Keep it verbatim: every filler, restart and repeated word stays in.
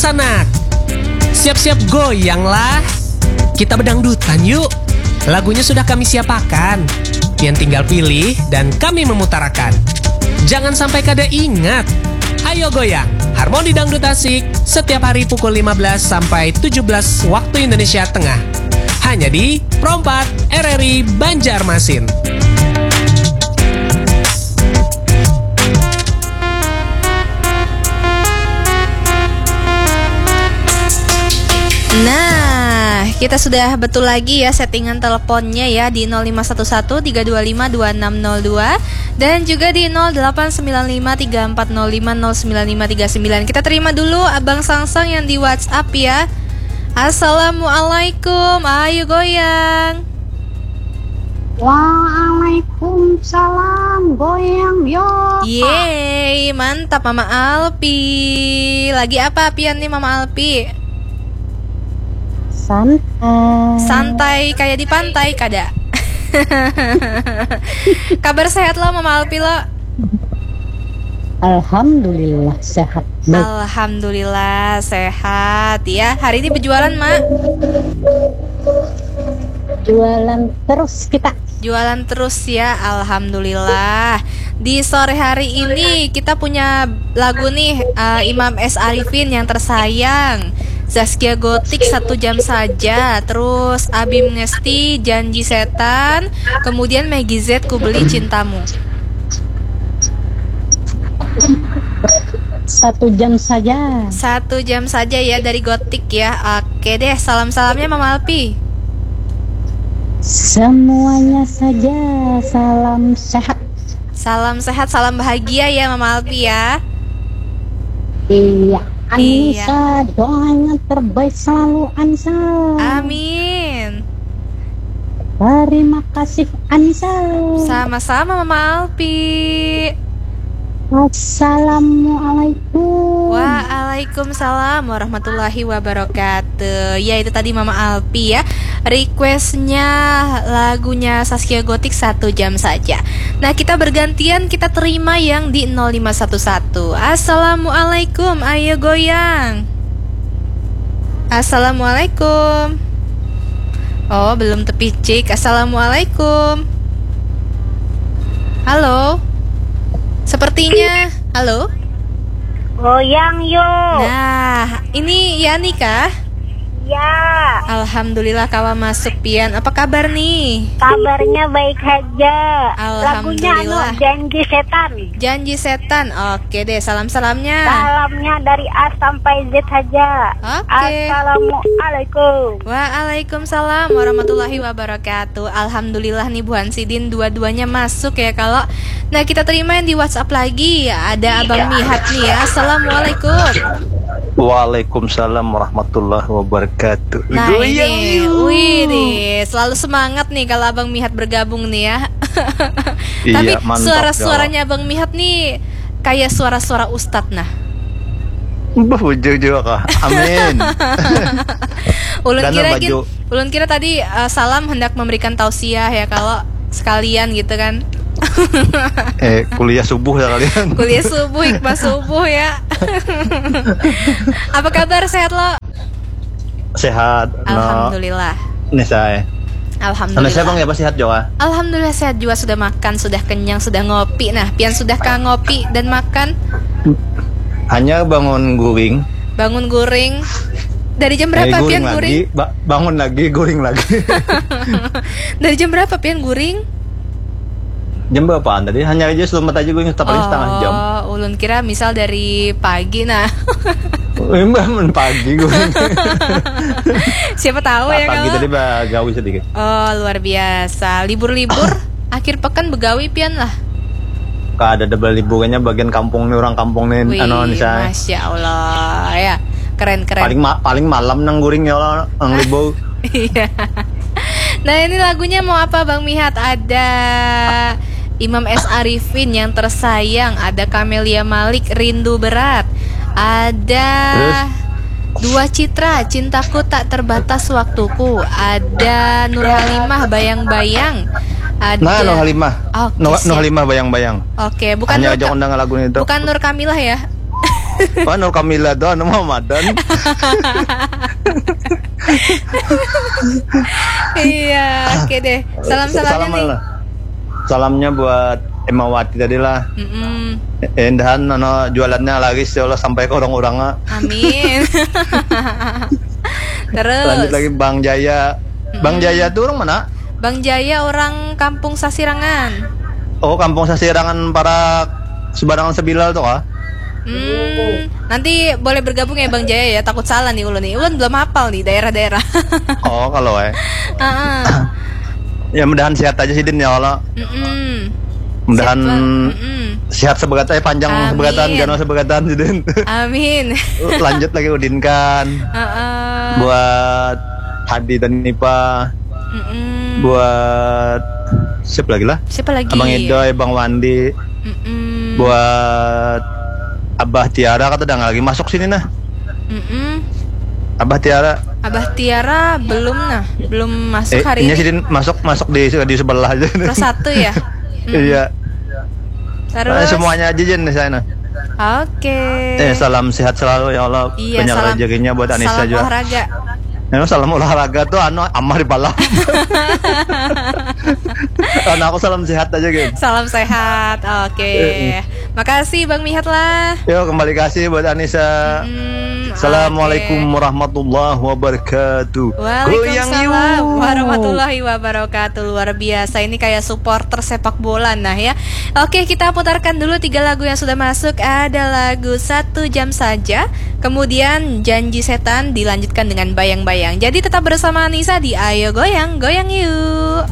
Tanak. Siap-siap goyang lah. Kita bedangdutan yuk. Lagunya sudah kami siapakan. Pian tinggal pilih dan kami memutarakan. Jangan sampai kada ingat. Ayo goyang, Harmoni Dangdut Asik, setiap hari pukul lima belas sampai tujuh belas waktu Indonesia Tengah. Hanya di Pro empat R R I Banjarmasin. Nah, kita sudah betul lagi ya settingan teleponnya ya di nol lima satu satu tiga dua lima dua enam nol dua dan juga di nol delapan sembilan lima tiga empat nol lima nol sembilan lima tiga sembilan. Kita terima dulu Abang Sangsang yang di WhatsApp ya. Assalamualaikum, ayo goyang. Waalaikumsalam, goyang yo. Yeay, mantap Mama Alpi. Lagi apa pian nih Mama Alpi? Santai. Santai kayak di pantai kada? Kabar sehat lo Mama Alpi lo? Alhamdulillah sehat. Baik. Alhamdulillah sehat ya. Hari ini berjualan, Mak? Jualan terus kita. Jualan terus ya, alhamdulillah. Di sore hari ini kita punya lagu nih, eh, Imam S Arifin yang tersayang, Zaskia Gotik Satu Jam Saja, terus Abim Ngesti Janji Setan, kemudian Maggie Z Ku Beli Cintamu. Satu jam saja. Satu jam saja ya dari Gotik ya. Oke deh, salam-salamnya Mama Alpi. Semuanya saja, salam sehat. Salam sehat, salam bahagia ya Mama Alpi ya. Iya, Anissa, doanya terbaik selalu, Ansa. Amin. Terima kasih, Ansa. Sama-sama, Mama Alpi. Assalamualaikum. Waalaikumsalam warahmatullahi wabarakatuh. Ya, itu tadi Mama Alpi ya. Requestnya lagunya Saskia Gotik Satu Jam Saja. Nah, kita bergantian, kita terima yang di nol lima satu satu. Assalamualaikum, ayo goyang. Assalamualaikum. Oh, belum tepicik. Assalamualaikum. Halo. Sepertinya, halo. Goyang yuk. Nah, ini Yani kah? Ya. Alhamdulillah kawa masuk pian. Apa kabar nih? Kabarnya baik saja. Lagunya anu, Alhamdulillah. Janji Setan. Janji Setan. Oke deh, salam-salamnya. Salamnya dari A sampai Z saja. Oke. Assalamualaikum. Waalaikumsalam warahmatullahi wabarakatuh. Alhamdulillah nih buhan sidin dua-duanya masuk ya kalau. Nah, kita terima yang di WhatsApp lagi. Ada Abang Mihat nih ya. Assalamualaikum. Waalaikumsalam warahmatullahi wabarakatuh. Nah, Goyang ini, yuk. Wih nih, selalu semangat nih kalau Abang Mihat bergabung nih ya. Iya, tapi mantap, suara-suaranya Abang Mihat nih kayak suara-suara ustad nah. Bah, bujur juga kah? Amin. Ulun Dan kira gin, baju. Ulun kira tadi, eh, salam hendak memberikan tausiah ya kalau sekalian gitu kan. Eh, kuliah subuh ya kalian. Kuliah subuh, hikmah subuh ya. Apa kabar, sehat lo? Sehat, no. Alhamdulillah. Nih saya. Alhamdulillah. Anu, saya bang ya, apa sehat juga? Alhamdulillah sehat juga, sudah makan, sudah kenyang, sudah ngopi. Nah, pian sudah kah ngopi dan makan? Hanya bangun guring. Bangun guring. Dari jam berapa pian guring? Ba-, bangun lagi, guring lagi. Dari jam berapa pian guring? Jam berapaan tadi? Hanya aja selamat aja gue, tapi setengah jam. Oh, ulun kira misal dari pagi, nah. Emang pagi gue. Siapa tahu ya pagi kalau tadi bagawi sedikit. Oh, luar biasa. Libur-libur, akhir pekan begawi pian lah. Kada ada beliburannya bagian kampung nih, orang kampung nih, wih, anu, nih, saya. Masya Allah, ya. Keren, keren. Paling ma-, paling malam nang guring ya Allah, nang libur. Iya. Nah, ini lagunya mau apa, Bang Mihat? Ada Imam S Arifin yang tersayang, ada Camelia Malik, Rindu Berat, ada Terus? Dua Citra, Cintaku Tak Terbatas Waktuku, ada Nur Halimah, Bayang-Bayang, ada Nah, Nur Halimah. Oke, Nur, Nur siap. Halimah, Bayang-Bayang. Oke, bukan Hanya Nur aja Ka-, undang lagu itu. Bukan Nur Kamilah ya? Anu Kamila tu anu Muhammadan. Iya, oke deh. Salam-salamnya nih. Salamnya buat Emawati tadi lah. Mm-mm. Endahan anu jualannya laris ya Allah sampai ke orang-orang. Amin. Terus Lanjut lagi Bang Jaya. Bang Jaya tuh orang mana? Bang Jaya orang Kampung Sasirangan. Oh, Kampung Sasirangan para sebarangan sebilal tuh kah? Hmm, nanti boleh bergabung ya Bang Jaya ya. Takut salah nih ulun nih. Ulun belum hafal nih daerah-daerah. Oh, kalau eh. Heeh. Ya mudahan sehat aja sih Din ya Allah. Mm-mm. Mudahan Sehat, Bang. Mm-mm. Sehat sebegatan, eh, panjang Amin. Sebegatan, gana sebegatan sih Din. Amin. Lanjut lagi Udin kan. Heeh. Buat Hadi dan Nipa. Mm-mm. Buat siapa lagi lah? Siapa lagi? Abang Edoy, Bang Wandi. Mm-mm. Buat Abah Tiara kata udah nggak lagi masuk sini nah. Mm-mm. Abah Tiara. Abah Tiara belum nah, belum masuk Eh, hari ini ini. Sih Din masuk masuk di di sebelah aja. Kelas satu ya. Mm. Iya. Terus Nah, semuanya aja Jen di sana. Oke. Eh, salam sehat selalu ya Allah. Iya, Banyak salam, rezekinya buat Anissa salam juga. Olahraga. Ya, salam olahraga tuh anu amah di balap. Karena aku salam sehat aja gitu. Salam sehat. Oke. Eh, eh. Makasih Bang Mihat lah. Yo, kembali kasih buat Anissa. Hmm, Assalamualaikum oke. Warahmatullahi wabarakatuh. Goyang Waalaikumsalam yuk. Warahmatullahi wabarakatuh. Luar biasa, ini kayak supporter sepak bola nah ya. Oke, kita putarkan dulu tiga lagu yang sudah masuk. Ada lagu Satu Jam Saja, kemudian Janji Setan, dilanjutkan dengan Bayang-Bayang. Jadi tetap bersama Anissa di Ayo Goyang, Goyang Yuk.